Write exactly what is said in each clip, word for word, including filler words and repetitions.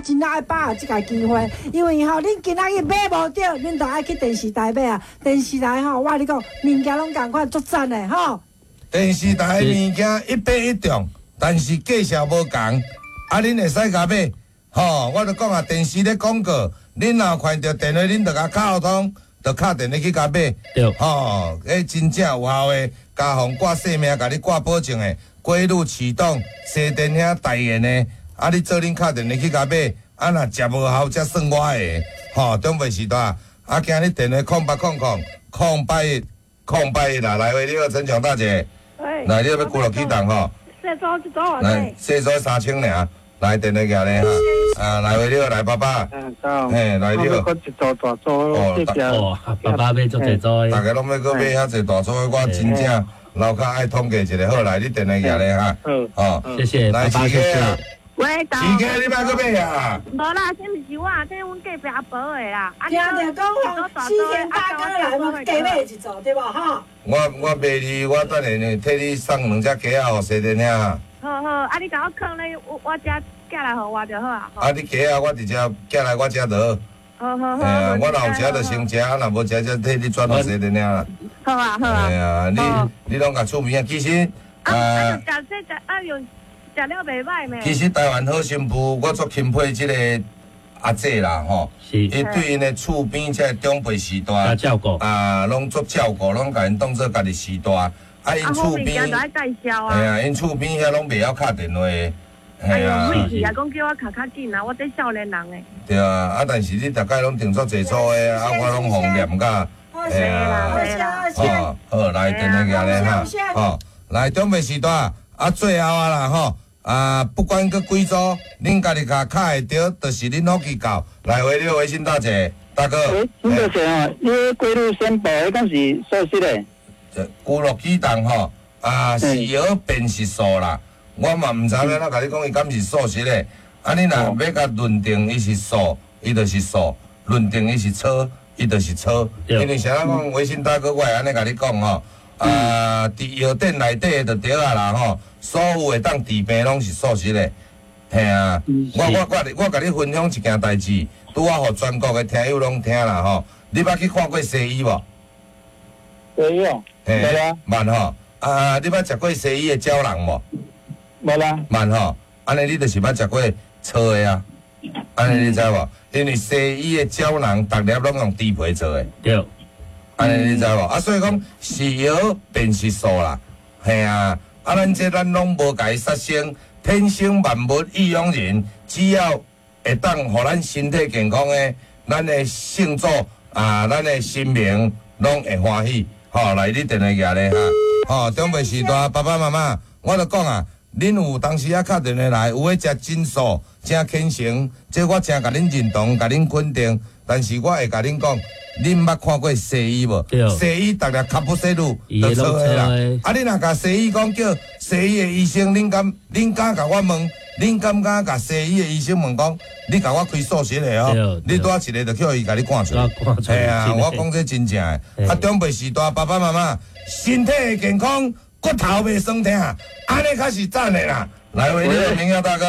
真正愛把握這個機會，因為吼，恁今仔日買無著，恁就愛去電視台買啊！電視台吼，我佮你講，物件攏仝款，足讚的吼。電視台的物件一買一中，但是價數無仝，啊，恁會使共買，吼，我就講啊，電視咧廣告，恁若有看著電話，恁就共敲通，就敲電話去共買，對，吼，彼真正有效的，家防掛性命，共你掛保證的，規律啟動，西電兄代言的，啊，你做恁敲電話去共買，啊，若食無效才算我的，吼，長輩時代，啊，今日電話空八空空空八一空八一啦，來喂，你好，陳強大姐，來，你欲龜鹿啟動吼，細組一組偌來，細組三千爾，來電話寄咧哈，啊，來喂，你好，來爸爸，嘿，來你好，一組大組，哦，爸爸買足濟組，大家攏欲閣買遐濟大組的，我真正樓跤愛統計一下，好來，你電話寄咧哈，哦，謝謝，來，爸爸謝謝。喂，市家你欲閣買啊？無啦，這毋是我，這阮隔壁阿婆的啦。聽著講吼，四天大哥來嘛，加買一組對無吼？我我賣你，我等下呢替你送兩隻雞仔予西電兄。好好，啊你共我囥咧，我我遮寄來予我就好啊。啊你雞仔我直接寄來我遮就好。好好好。啊，我若有食就先食，啊若無食就替你轉予西電兄啦。好啊好啊。哎呀，你你攏共厝邊啊，其實啊啊，食這食啊用。食了袂䆀咩？其實台灣好新婦，我足欽佩這個阿姐啦，吼，伊對𪜶的厝邊這個長輩序大，照顧啊，攏足照顧，攏共𪜶當做家己序大。啊，𪜶厝邊，介紹啊。嘿啊，𪜶厝邊遐攏袂曉敲電話的，嘿啊。哎呦，啊，講叫我敲較緊啊，我這少年人的。對啊，啊，但是你逐擺攏訂足濟組的，啊，我攏予念甲，嘿啊，好，好，來電話寄咧哈，好，來長輩序大，啊，最後啊啦，吼。啊，不管閣幾組，恁家己共敲會著，就是恁福氣夠。來，喂，你好，微信大姐，大哥。喂，陳大姐哦，你龜鹿鮮寶，彼敢是素食的？這龜鹿啟動吼，啊是藥變是素啦。我嘛毋知欲按怎共你講，伊敢是素食的。啊，你若欲共認定伊是素，伊就是素；認定伊是粗，伊就是粗。因為啥人講微信大哥，我會按呢共你講吼。啊，佇藥店內底的就對啊啦吼，所有會當治病攏是素食的，嘿啊！我我我我共你分享一件代誌，拄仔予全國的聽友攏聽啦吼。你捌去看過西醫無？西醫哦，嘿，捌吼。啊，你捌食過西醫的膠囊無？無啦。捌吼，按呢你就是捌食過粗的啊。按呢你知無？因為西醫的膠囊，逐粒攏用豬皮做的。對。按呢你知無？啊，所以講是藥便是素啦，嘿啊！啊，咱這咱攏無共伊殺生，天生萬物易養人，只要會當予咱身體健康的，咱的聖祖啊，咱的神明攏會歡喜。吼，來，你電話寄咧哈。吼，長輩序大，爸爸媽媽，我就講啊，恁有當時啊敲電話來，有的食真素，真虔誠，這我真共恁認同，共恁肯定。但是我會共恁講，恁捌看過西醫無？西醫逐粒卡布西魯就錯的啦。啊，你若共西醫講叫西醫的醫生，恁敢恁敢共我問？恁敢敢共西醫的醫生問講？你共我開素食的哦？你拄仔一个就叫伊共你趕出來。嘿啊，我講這真正的。啊，長輩序大，爸爸媽媽身體會健康，骨頭袂酸疼，按呢較是讚的啦。來，喂，你好，明耀大哥。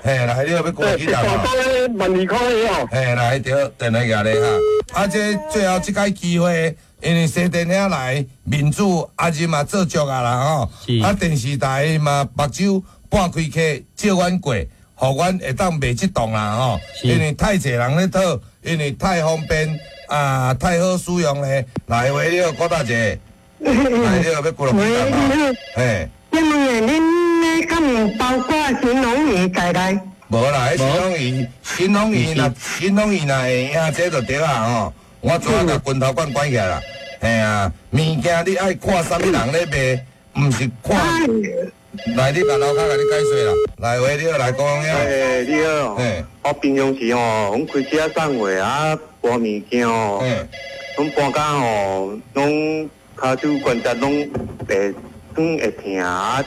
嘿，來，你欲過幾檔？萬二塊哦。嘿，來，對，電話寄咧哈。啊，這最後這擺機會，因為西電兄來，面子阿仁嘛做足啊啦吼。啊，電視台嘛目睭半開客借阮過，予阮會當賣這檔啦吼。因為太濟人咧討，因為太方便啊，太好使用咧。來，喂，你好，郭大姐。來，你好，欲過落幾檔嘿。請問恁咧敢有包括神農魚在內？無啦，彼神農魚，神農魚若神農魚若會贏，這就對啊吼。我早共拳頭管關起來啦。嘿啊，物件你愛看啥物人咧賣，毋是看。來，你共樓跤共你解說啦。來，喂，你好，來講呀。欸，你好。嘿。我平常時吼，阮開車送貨啊，搬物件吼，阮搬工吼，攏跤手關節攏會軟會疼啊，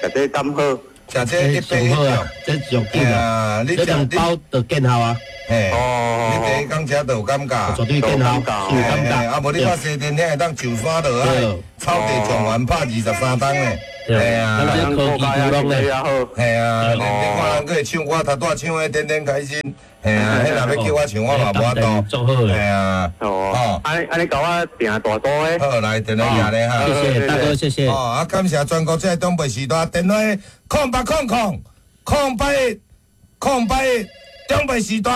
食這敢好？食這一百一啊，這上緊啊！你兩包就見效啊！嘿，哦，你第一工食就有感覺，絕對見效，有感覺。啊，無你看西電兄會當上山落海，草地狀元拍二十三冬咧。嘿啊，咱這科技古龍咧，嘿啊，你你看人閣會唱歌，頭拄仔唱的天天開心，嘿啊，彼若欲叫我唱，我嘛無法度。足好嘿啊，哦，按按呢共我訂大組的。好，來電話寄咧哈。謝謝大哥，謝謝。哦，啊，感謝全國這個長輩時代電話空八空空空八一空八一長輩時代，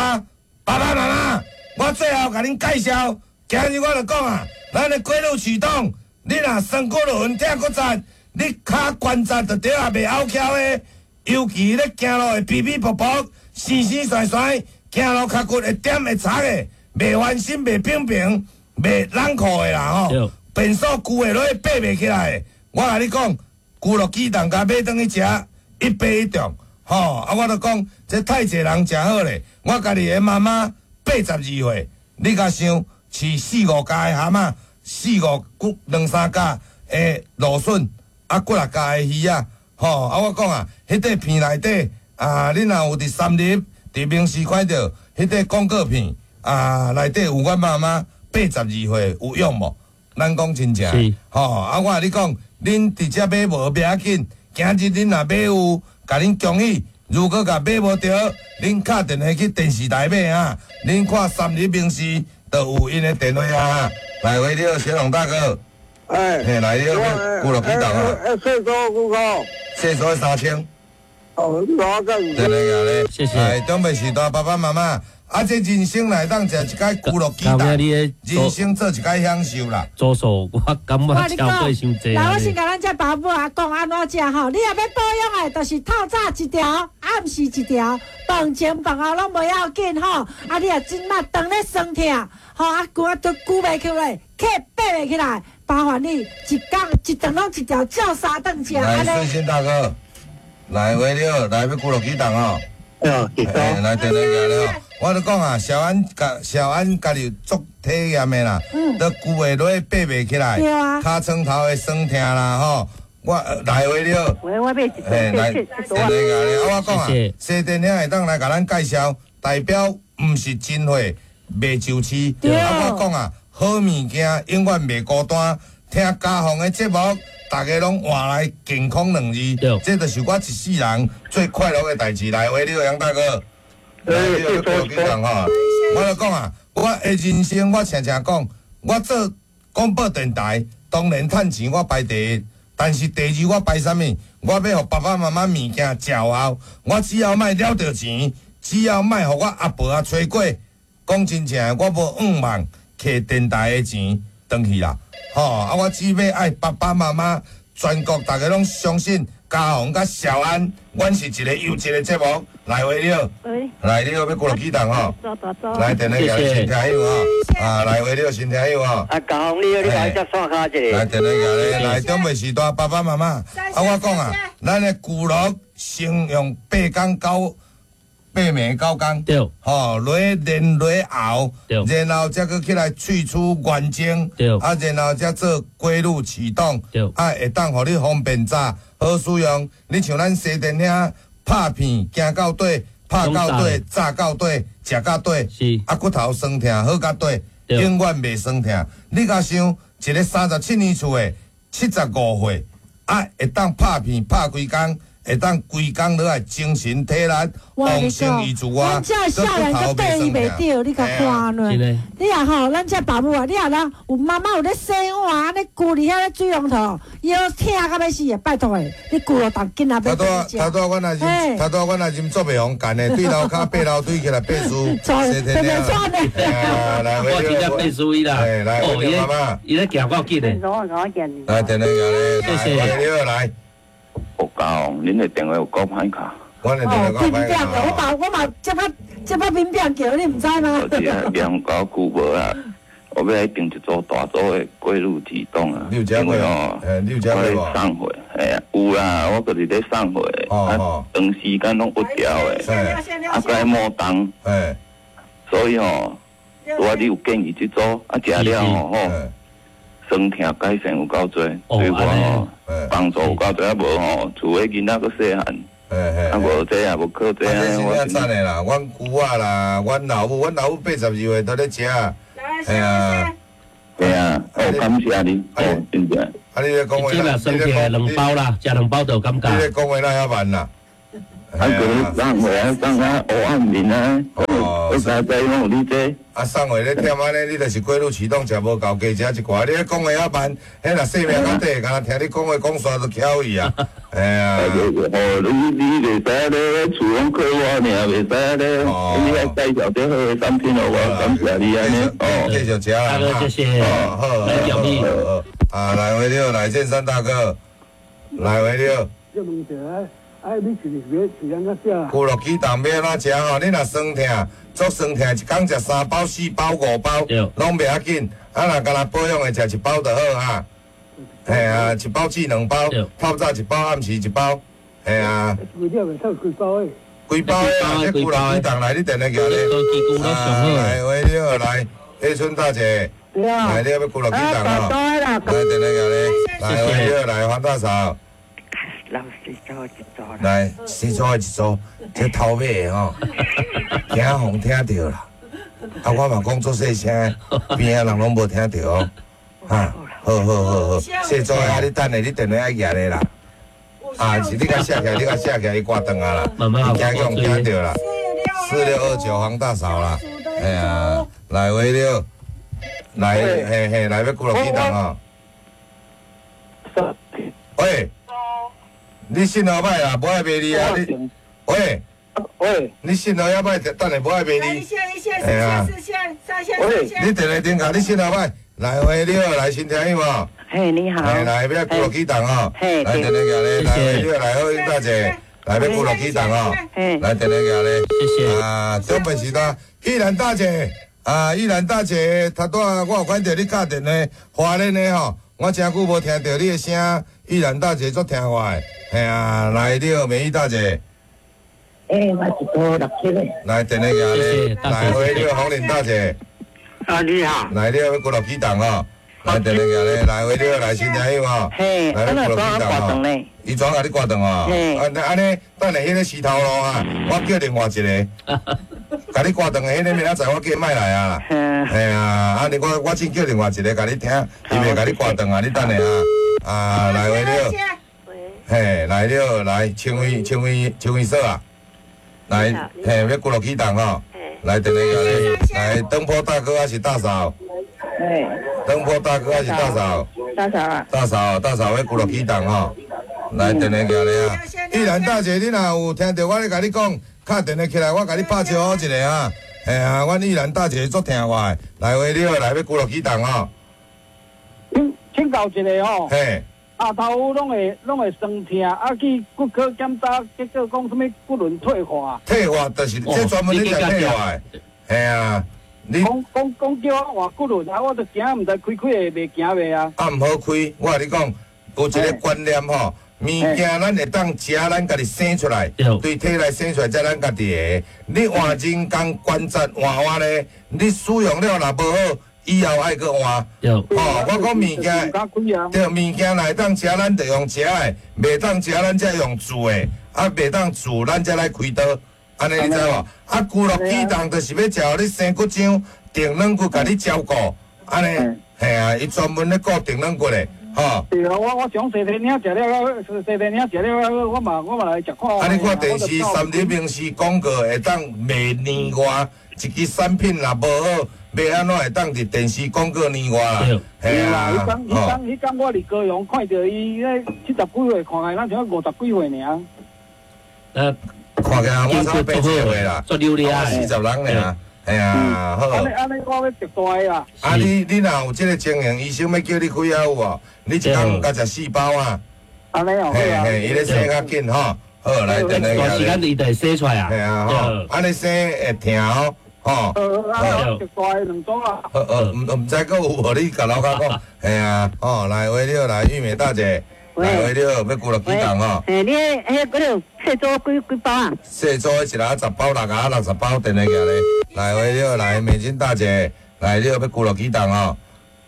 爸爸媽媽，我最後共恁介紹，今日我就講啊，咱的規律啟動，你若酸骨輪疼骨節，你跤關節就對啊袂拗翹的，尤其咧行路會皮皮薄薄、生生酸酸，行路跤骨會點會擦的，袂翻身、袂平平、袂冷酷的啦吼。便所舊的落去爬袂起來的，我共你講，舊樂啟動共買轉去食，一爬一中，吼啊！我就講，這太濟人誠好咧，我家己的媽媽八十二歲，你共想飼四五家的蚶仔，四五骨兩三家的蘆筍。啊，幾若家的魚仔，吼！啊，我講啊，彼塊片內底啊，恁若有佇三立、佇明視看著彼塊廣告片啊，內底有阮媽媽八十二歲有用無？咱講真正，吼！啊，我共你講，恁佇遮買無袂要緊，今日恁若買有，共恁恭喜。如果共買無著，恁敲電話去電視台買啊！恁看三立明視就有𪜶的電話啊！來，喂，你好，小龍大哥。哎，嘿，來，你好，舊樂啟動啊！哎，歲數幾個？歲數三千。哦，我個。對對對，謝謝。哎，長輩時代爸爸媽媽，啊，這人生來當食一擺舊樂啟動，人生做一擺享受啦。做數我感覺超過傷濟。來，我先共咱這爸母啊講按怎食吼，你若欲保養的，就是透早一條，暗時一條，飯前飯後攏無要緊吼。啊，你若這馬當咧酸痛，吼啊，骨啊都久袂起來，磕爬袂起來。麻煩你一工一頓攏一條，照三頓食。來，順心大哥，來，喂，你好，來欲舊樂啟動哦。嗯，來，電話來了。我咧講啊，小安家小安家己足體驗的啦，都舊的落去爬袂起來，尻床頭的酸痛啦吼。我來喂，你好。喂，我買一來，電話來。啊，我講啊，西電兄會當來共咱介紹，代表毋是真貨袂就市。啊，我講啊。好物件永遠袂孤單，聽家鳳的節目，大家攏換來健康兩字，這就是我一世人最快樂的代誌。來，喂，你好，楊大哥，來，你好，你好，吼，我就講啊，我的人生我常常講，我做廣播電台，當然趁錢我排第一，但是第二我排啥物？我欲予爸爸媽媽物件食後，我只要莫了著錢，只要莫予我阿婆啊吹過，講真正，我無願望。摕電台的錢轉去啦，吼！啊，我只欲愛爸爸媽媽，全國大家攏相信嘉宏佮小安，阮是一個優質的節目。來，喂，你好，來，你好，欲舊樂啟動吼，來，電話寄來新聽友吼，啊，來，喂，你好，新聽友吼。啊，嘉宏，你好，你來接線卡一下。來，電話寄來，來，長輩時代爸爸媽媽，啊，我講啊，咱的舊樂先用八工九。八暝九工，對，吼，落練落熬，對，然後才閣起來萃取原精，對，啊，然後才做規律啟動，對，啊，會當予你方便炸，好使用。你像咱西電遐拍片，行到底，拍到底，炸到底，食到底，是，啊，骨頭酸痛好到底，永遠袂酸痛。你共想一个三十七年厝的，七十五歲，啊，會當拍片拍規工。會當規工落來精神體力旺盛伊自我。咱這少年閣對伊袂著，你共看呢？你若吼，咱這爸母啊，你若人有媽媽有咧洗碗，按呢跍佇遐咧水龍頭，腰疼甲欲死的，拜託的，你舊樂動緊啊！頭拄仔，頭拄仔，阮也啉，頭拄仔阮也啉做袂予乾的，對樓跤爬樓梯起來爬樹，洗天了。來，我真正爬樹伊啦。來，哦，伊咧，伊咧行夠緊的。來，電話來，謝謝。你好，來。有夠，恁的電話有夠歹敲。我的電話夠歹敲。我嘛我嘛這擺這擺敏變叫，你毋知嗎？就是啊，兩九久無啊，我欲來訂一組大組的規律啟動啊。你有食過哦？你有食過無？送貨，嘿啊，有啦，我就是咧送貨，啊，長時間攏不調的，啊，閣愛摩動，所以吼，我你有建議這組，啊，食了吼吼。酸痛改善有夠濟，對我吼幫助有夠濟，啊無吼，厝的囡仔閣細漢，啊無這也無靠這。啊，這是真讚的啦！阮姑仔啦，阮老母，阮老母八十二歲都咧食，係啊，係啊，哦，感謝你，哦，真正。啊，你咧講話，這若酸痛兩包啦，食兩包就有感覺。你咧講話哪遐慢啦？啊，閣送貨啊，送啊烏暗面啊，我才知講有你這。啊，送貨咧忝按呢，你就是過路啟動食無夠，加食一寡。你咧講話遐慢，彼若生命較短，敢若聽你講話講煞就翹去啊！哎呀，哦，你你袂使咧，厝攏靠我爾，袂使咧。你愛介紹這好的產品予我，感謝你按呢。哦，繼續食啦。大哥，謝謝。好，來表弟。啊，來回了，來建山大哥，來回了。這問題哎，你是是是按怎食？骨碌啟動欲按怎食吼？你若酸痛，足酸痛，一工食三包、四包、五包，攏袂要緊。啊，若干焦保養的，食一包就好啊。嘿啊，一包至兩包，透早一包，暗時一包。嘿啊。規粒會透幾包的？幾包的啊？這骨碌啟動來，你電話寄咧。啊，來，喂，你好，來，葉春大姐。來，你欲骨碌啟動吼？來，電話寄咧。來，喂，你好，來，黃大嫂。老四組一組啦，來四組的一組，這頭尾的吼，驚予聽著啦。啊，我嘛講足細聲，邊仔人攏無聽著哦。哈，好好好好，四組的啊，你等下你電話愛舉咧啦。啊，是你共寫起來，你共寫起來，伊掛斷啊啦，伊驚予聽著啦。四六二九黃大嫂啦，哎呀，來喂了，來嘿嘿，來欲骨碌啟動哦。喂。你信號歹啦，無愛罵你啊！你，喂，喂，你信號猶歹，等下無愛罵你。一線一線四線四線三線四線。你電話頂下，你信號歹，來喂，你好，來新聽有無？嘿，你好。嘿，來欲骨碌啟動哦。來電話寄咧，來喂，你好，來好英大姐，來欲骨碌啟動哦。來電話寄咧，謝謝。啊，長輩時代，玉蘭大姐，啊，玉蘭大姐，頭拄仔我有看著你敲電話，花蓮的吼，我誠久無聽著你的聲。玉蘭大姐足聽話的，嘿啊，來你好，美玉大姐。欸，我一組六七个。來電話寄咧，來喂，你好，紅玲大姐。啊，你好。來你好，欲骨碌啟動吼，來電話寄咧，來喂，你好，來新聽友吼。嘿，來欲骨碌啟動吼。伊怎共你掛斷哦？啊，按呢，等下彼个石頭路啊，我叫另外一个，共你掛斷的彼个明仔載我叫伊莫來啊啦。嘿啊，按呢我我先叫另外一个共你聽，伊袂共你掛斷啊，你等下啊。啊，來喂了，嘿，來了，來，青威，青威，青威嫂啊，來，嘿，欲骨碌啟動吼，來電話寄來，來，燈泡大哥還是大嫂？燈泡大哥還是大嫂？大嫂啊！大嫂，大嫂欲骨碌啟動吼，來電話寄來啊！玉蘭大姐，你若有聽著我咧共你講，敲電話起來，我共你拍招呼一下啊！嘿啊，阮玉蘭大姐足聽話的，來喂了，來欲骨碌啟動吼。請教一下吼，嘿，額頭攏會攏會酸痛，啊去骨科檢查，結果講啥物骨輪退化。退化就是這專門咧食退化的，嘿啊，你講講講叫我換骨輪，啊我就驚毋知開開會袂行袂啊。啊毋好開，我共你講，有一個觀念吼，物件咱會當食，咱家己生出來，對體內生出來才咱家己的。你換人工關節換換咧，你使用了若無好。以後愛閣換，吼！我講物件，對物件若會當食，咱就用食的；袂當食，咱才用煮的。啊，袂當煮，咱才來開刀。按呢你知無？啊，骨碌啟動就是欲食予你生骨漿、定軟骨，共你照顧。按呢，嘿啊，伊專門咧顧定軟骨的，吼。對啊，我我想西天領食了，西天領食了，我嘛我嘛來食看。啊，你看電視三立民視廣告會當賣年外，一支產品若無好。欲按怎會當佇電視廣告年外啦？對啦，彼工彼工彼工我佇高雄看著伊咧七十幾歲，看來咱像五十幾歲爾。呃，看起來我差八十歲啦，足溜咧，四十人爾，嘿啊，好。按呢按呢，我欲食大的啦。啊，你你若有這个情形，醫生欲叫你開藥有無？你一工共食四包啊？按呢哦，嘿嘿，伊咧洗較緊吼。好，來，電話短時間伊就會洗出來啊。嘿啊，吼，按呢洗會疼哦。吼，好，食大的兩組啊。好，呃，毋毋知閣有無？你共老家講，嘿啊，吼，來喂，你好，來玉美大姐，來喂，你好，欲骨碌啟動吼。嘿，你彼彼嗰條細組幾幾包啊？細組一人十包，六盒六十包，電話寄咧。來喂，你好，來美金大姐，來你好，欲骨碌啟動吼。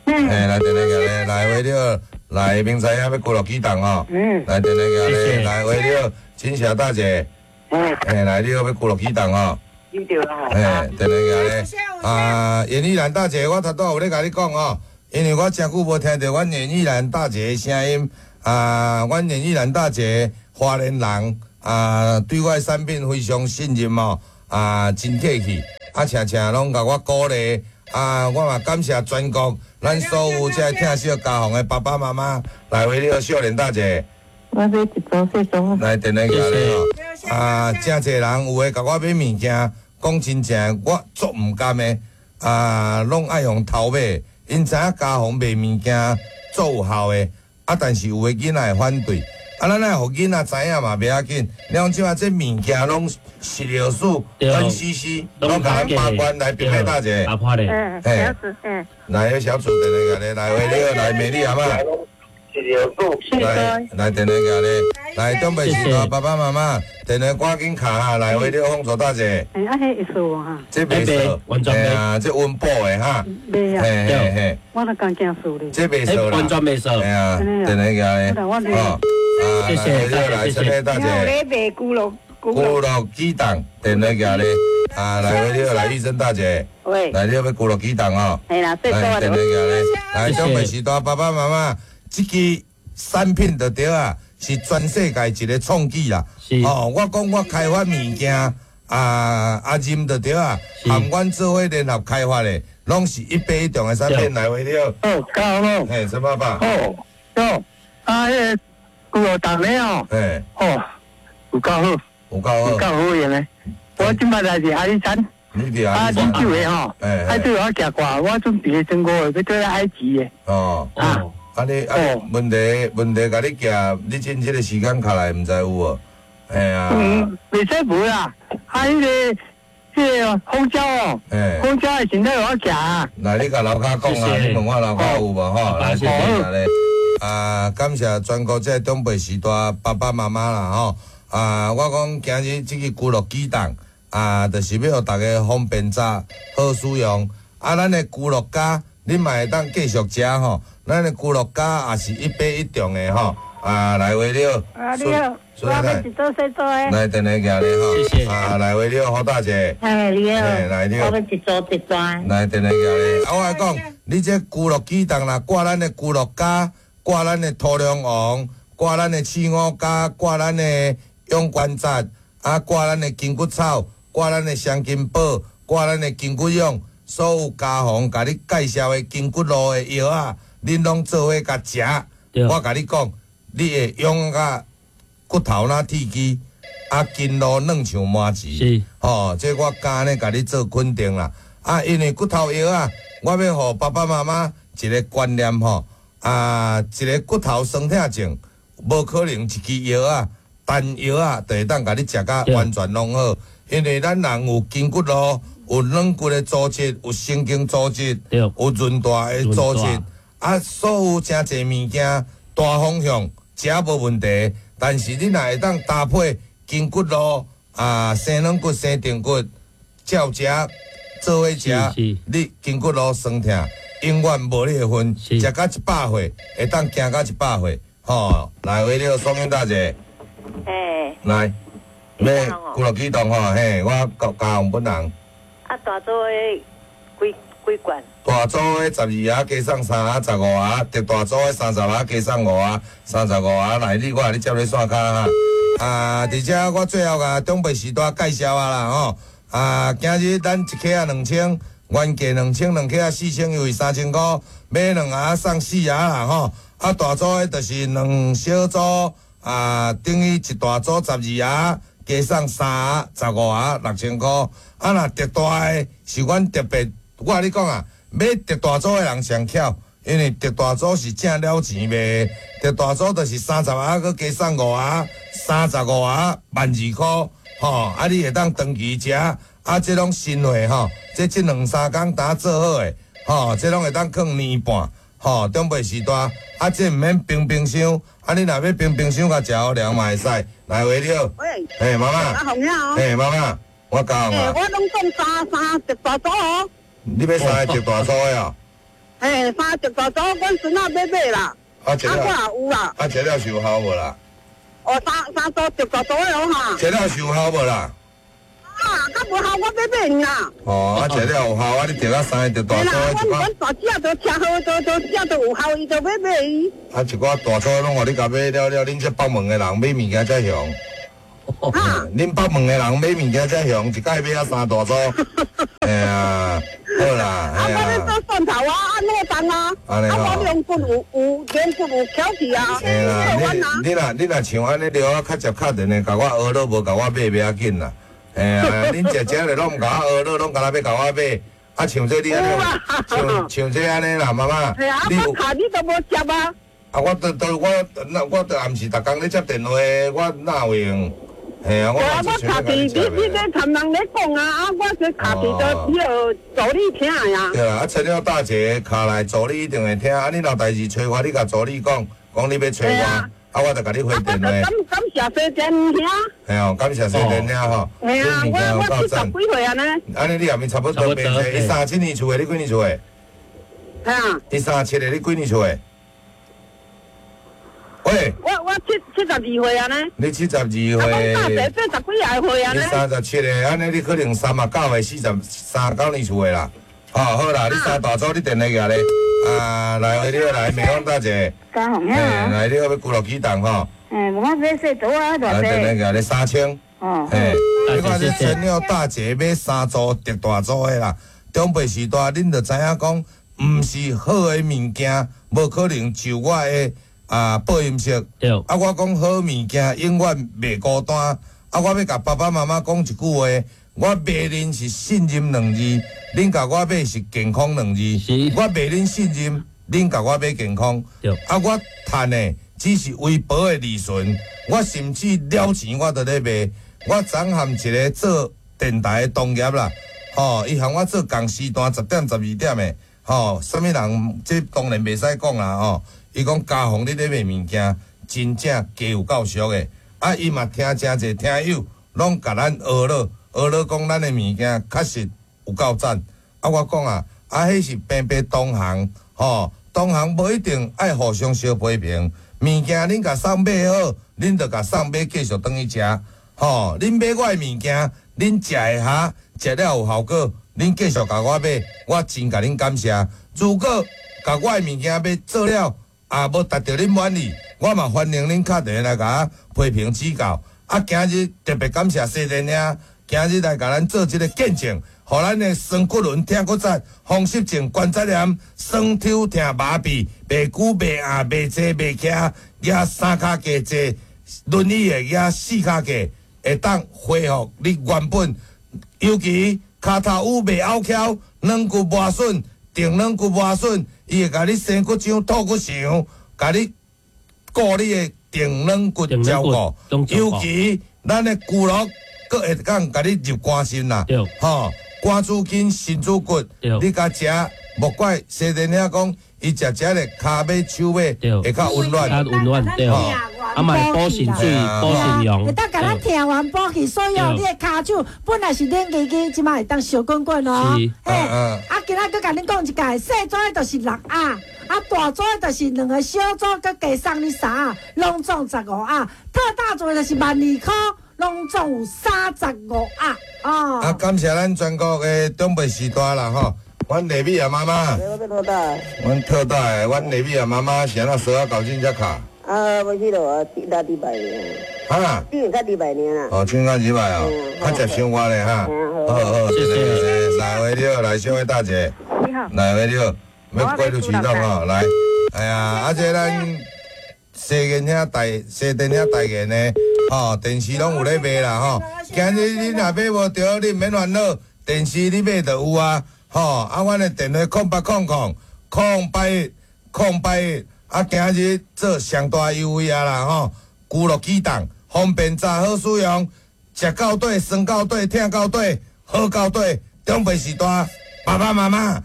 嘿，來電話寄咧，來喂，你好，來明仔啊，欲骨碌啟動吼。來電話寄咧，來喂，你好，金霞大姐，嘿，來你好，欲骨碌啟動吼。對啦。嘿，電話寄咧。啊，嚴玉蘭大姐，我頭拄仔有咧共你講吼，因為我誠久無聽著阮嚴玉蘭大姐的聲音啊，阮嚴玉蘭大姐花蓮人啊，對我的產品非常信任哦，啊，真客氣，啊，常常攏共我鼓勵啊，我嘛感謝全國咱所有這個疼惜家鳳的爸爸媽媽，來回你好，少年大姐。我買一組細組。來，電話寄來吼。啊，誠濟人有的共我買物件，講真正，我足毋甘的。啊，攏愛用偷買，𪜶知影家鳳賣物件足有效的。啊，但是有的囡仔會反對。啊，咱愛予囡仔知影嘛，袂要緊。你講這馬這物件攏食藥署、N C C 攏共咱把關來，平妹大姐。阿婆咧。嗯，小組，嗯。來，小組電話來，來，喂，你好，來，美麗阿媽。來來，電話寄咧，來，長輩時代爸爸媽媽，電話趕緊卡哈，來，喂，你好，鳳竹大姐。欸，啊，彼會數無哈？這袂數，完全袂啊，這溫補的哈。袂啊。嘿嘿嘿。我都剛驚數咧。這袂數啦。完全袂數。嘿啊，電話寄咧。哦，謝謝，來，陳麗大姐。我咧賣牛肉，牛肉雞蛋，電話寄咧。啊，來，喂，你好，來，玉珍大姐。喂。來，你要牛肉雞蛋哦。係啦，來，電話寄咧。來，長輩時代爸爸媽媽，這支產品就對啊，是全世界一個創舉啦。哦，我講我開發物件啊，啊認就對啊，和阮做伙聯合開發的，攏是一百一重的產品來回了。哦，夠咯。嘿，陳爸爸。哦，哦，啊，彼個牛肉蛋咧哦。嘿。哦，有夠好。有夠好。有夠好用的。我這擺來是阿里山。你佇阿里山。啊，啉酒的吼。啊，對我行過，我準備中國的，欲對埃及的。哦。啊。啊你啊問題問題，共你寄，你進這個時間下來，毋知有無？嘿啊。嗯，袂使無啦。啊，彼個彼個蜂膠哦，蜂膠的身體有我寄啊。來，你共樓跤講啊，你問我樓跤有無吼？來，謝謝咧。啊，感謝全國這個長輩時代爸爸媽媽啦吼。啊，我講今日這个牛肉雞蛋啊，就是欲予大家方便食，好使用。啊，咱的牛肉膠，你嘛會當繼續食吼。咱的牛肉膠也是一百一重的吼，啊，來位了，啊，你好，我欲一組細組的。來，電話寄來吼，謝謝。啊，來位了，胡大姐。哎，你好。來你好。我欲一組一大。來，電話寄來。啊，我來講，你這牛肉雞蛋若掛咱的牛肉膠，掛咱的土龍王，掛咱的刺五加，掛咱的養關節，啊，掛咱的筋骨草，掛咱的雙金寶，掛咱的筋骨勇，所有家防共你介紹的筋骨露的藥啊。恁攏做伙共食，我共你講，你會用甲骨頭若鐵支，啊筋路軟像麻糍，吼，這我敢呢共你做肯定啦。啊，因為骨頭藥啊，我欲予爸爸媽媽一個觀念吼，啊，一個骨頭酸痛症，無可能一支藥啊，單藥啊，就會當共你食甲完全攏好。因為咱人有筋骨路，有軟骨的組織，有神經組織，有韌帶的組織。啊，所有誠濟物件大方向食無問題，但是你若會當搭配筋骨露啊，生軟骨、生定骨，照食做伙食，你筋骨露酸痛永遠無你的份，食到一百歲會當行到一百歲，吼！來，為了雙英大姐，欸，來，欲骨肉啟動吼，嘿，我高高雄本人。啊，大組的幾幾罐？大組的十二盒加送三盒，十五盒；特大組的三十盒加送五盒，三十五盒。來，你我你接咧線跤哈。啊，佇遮我最後共長輩時代介紹啊啦吼。啊，今日咱一克仔兩千，原價兩千，兩克仔四千，優惠三千箍，買兩盒送四盒啦吼。啊，大組的就是兩小組，啊，等於一大組十二盒，加送三盒，十五盒，六千箍。啊，若特大的是阮特別，我共你講啊。買特大組的人上巧，因為特大組是正了錢賣，特大組就是三十盒，閣加送五盒，三十五盒萬二箍，吼！啊，你會當長期食，啊，這攏新貨吼，這這兩三工剛做好的，吼，這攏會當囥年半，吼，長輩時代，啊，這毋免冰冰箱，啊，你若欲冰冰箱共食予涼嘛會使。來，喂，你好，喂，嘿，媽媽，阿紅呀，嘿，媽媽，我教啊，我攏講三三特大組哦。你欲三個特大組的哦？嘿，三個特大組，阮孫仔欲買啦。啊，這了，啊，我也有啦。啊，這了有效無啦？哦，三三組特大組的哦哈。這了有效無啦？啊，較無效我欲買爾啦。哦，啊食了有效，啊你著啊三個著大嘿啦，組的一阮阮大隻都食好，都都食都有效，伊就欲買伊。啊一寡大組攏予你共買了了，恁這北門的人買物件遮雄。恁北門的人買物件遮雄，一擺買啊三大組。哎呀，好啦，啊，我咧做蒜頭啊，啊老重啊，啊我龍骨有有龍骨有翹起啊，嘿啦，你你若你若像按呢著啊，較捷敲電話共我呵咾，無共我買袂要緊啦。嘿啊，恁食食咧攏毋共我呵咾，攏干焦欲共我買。啊，像這你按呢，像像這按呢啦，媽媽。嘿啊，我敲你都無接啊。啊，我都都我那我都暗時逐工咧接電話，我哪有閒？嘿啊，我我敲去你你咧参人咧講啊，啊，我這敲去都彼个助理聽的啊。對啦，啊，陳了大姐敲來助理一定會聽，啊，你若有代誌揣我，你共助理講，講你欲揣我，啊，我就共你回電話。感感謝西電兄。嘿哦，感謝西電兄吼。嘿啊，我我七十幾歲啊呢。按呢你也咪差不多變歲，伊三七年出的，你幾年出的？嘿啊。伊三七的，你幾年出的？喂，我我七七十二歲啊呢。你七十二歲。啊，我大細八十幾歲歲啊呢。你三十七個，按呢你可能三十九歲、四十三九年出的啦。哦，好啦，你三大組你電話寄咧。啊，來，你好，來，美鳳大姐。嘉宏兄。來，你好，欲俱樂啟動吼。欸，我買細組啊，偌濟。來，電話寄咧三千。哦。嘿，你看這陳了大姐買三組特大組的啦，長輩時代恁就知影講，毋是好的物件，無可能就我的。啊，報音色。啊，我講好物件永遠袂孤單。啊，我欲共爸爸媽媽講一句話，我賣恁是信任兩字，恁共我買是健康兩字。我賣恁信任，恁共我買健康。啊，我趁的只是微薄的利潤，我甚至了錢我都咧賣。我昨和一個做電台的同業啦，吼，伊和我做仝時段十點十二點的，吼，啥物人這當然袂使講啦，吼。伊講嘉宏，你咧賣物件，真正價有夠俗的。啊，伊嘛聽誠濟聽友，攏共咱呵咾，呵咾講咱的物件確實有夠讚。啊，我講啊，啊，彼是平平同行，吼，同行無一定愛互相相批評。物件恁共送買好，恁就共送買繼續轉去食，吼。恁買我的物件，恁食會下，食了有效果，恁繼續共我買，我真共恁感謝。如果共我的物件買做了，啊，無達到恁滿意，我嘛歡迎恁敲電話來共我批評指教。啊，今日特別感謝西電兄，今日來共咱做這個見證，予咱的酸骨輪、疼骨節、風濕症、關節炎、酸抽疼、麻痹、袂久袂硬、袂坐袂徛，舉三跤架坐輪椅的舉四跤架，會當恢復你原本。尤其跤頭趺袂拗翹，軟骨磨損。定軟骨磨損，伊會共你生骨漿、吐骨腸，共你顧你的定軟骨照顧。尤其咱的骨骼，閣會當共你入肝腎啦，吼，肝主筋、腎主骨，你共食，莫怪西電兄講，伊食食咧跤尾、手尾會較溫暖，較溫暖對。啊嘛會補腎水、補腎陽。會當共咱聽完補氣，所以哦，你的跤手本來是冷吱吱，這擺會當燒滾滾哦。嘿，啊，今仔閣共恁講一解，細組的就是六盒，啊，大組的就是兩個小組，閣加送你三盒，攏總十五盒。特大組的就是萬二箍，攏總有三十五盒。哦。啊，感謝咱全國的長輩時代啦，吼。阮麗美啊媽媽，阮特大的，阮麗美啊媽媽是按怎趖仔猴子遮敲？啊，無去咯，六禮拜爾。哈？頂個禮拜爾啦。哦，頂個禮拜哦，較捷生活咧哈。好好，謝謝。來位你好，來小偉大姐。你好。來位你好，欲過路啟動吼，來。哎呀，啊這咱西電兄代西電兄代言的，吼，電視攏有咧賣啦吼。今日你若買無著，你毋免煩惱，電視你買就有啊。吼，啊，阮的電話空八空空空八一空八一，啊，今日做上大優惠啊啦吼！俱樂啟動，方便查好使用，食到底，酸到底，疼到底，好到底，長輩時代，爸爸媽媽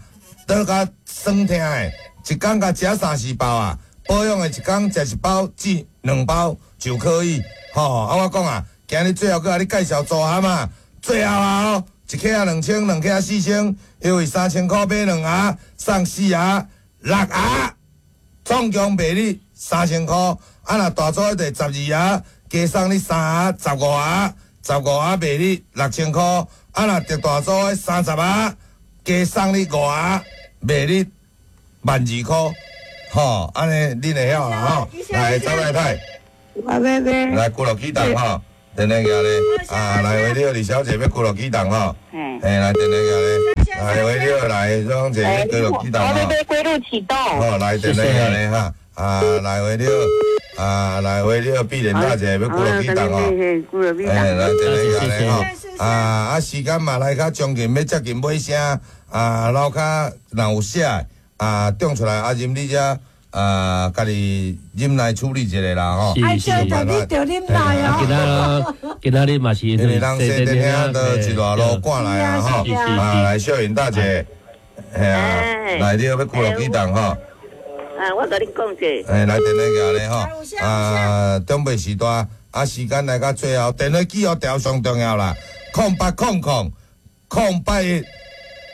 倒較酸疼的，一工共食三四包啊，保養的一工食一包至兩包就可以。吼，啊，我講啊，今日最後閣共你介紹組合啊，最後啊哦。一克仔兩千，兩克仔四千，因為三千箍買兩盒，送四盒、六盒，總共賣你三千箍。啊，若大組的十二盒，加送你三盒、十五盒，十五盒賣你六千箍，啊若特大組的三十盒，加送你五盒，賣你萬二箍，吼，按呢恁會曉啦吼。來，周太太，來龜鹿起動吼，電話寄咧，啊，來喂你好，李小姐欲龜鹿啟動吼，嘿，來電話寄咧，來喂你好，來張姐欲龜鹿啟動吼，我欲買龜鹿啟動，好，來電話寄咧哈，啊，來喂你好，啊，來喂你好，碧蓮大姐欲龜鹿啟動吼，哎，來電話寄咧吼，啊啊，時間嘛來較將近，欲接近尾聲，啊，樓跤若有寫的，啊，中出來啊，任你遮。啊，家己忍耐處理一下啦吼。愛就你就忍耐哦。今仔今仔日嘛是，因為人西電兄都一大路趕來啊吼。啊，來小雲大姐，嘿啊，來你欲龜鹿啟動吼。啊，我共你講者。哎，來電話寄咧吼。啊，長輩時代，啊，時間來到最後，電話記號條上重要啦。空八空空空八一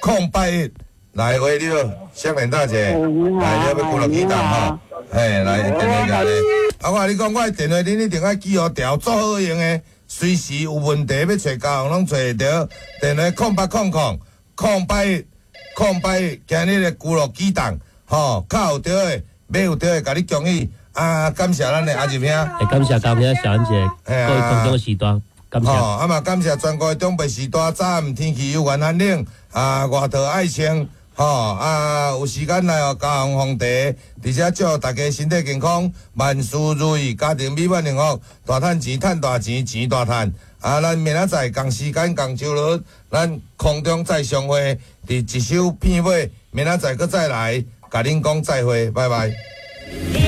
空八一。來，喂，你好，香蓮大姐，來，你欲龜鹿啟動吼，嘿，來電話寄咧。啊，我共你講，我的電話恁一定愛記號條，足好用的，隨時有問題欲揣高雄攏揣會著。電話空八空空空八一空八一，今日的龜鹿啟動，吼，較有對的，買有對的，共你恭喜。啊，感謝咱的阿仁兄，會感謝高兄小安姐，各位空中時段。感謝，啊嘛感謝全國的長輩時代，早暗天氣有緣寒冷，啊外套愛穿。吼啊！有時間來哦，高雄鳳茶，佇遮祝大家身體健康，萬事如意，家庭美滿幸福，大趁錢，趁大錢，錢大趁。啊，咱明仔載仝時間仝周日，咱空中再相會，佇一首片尾，明仔載閣再來，共恁講再會，拜拜。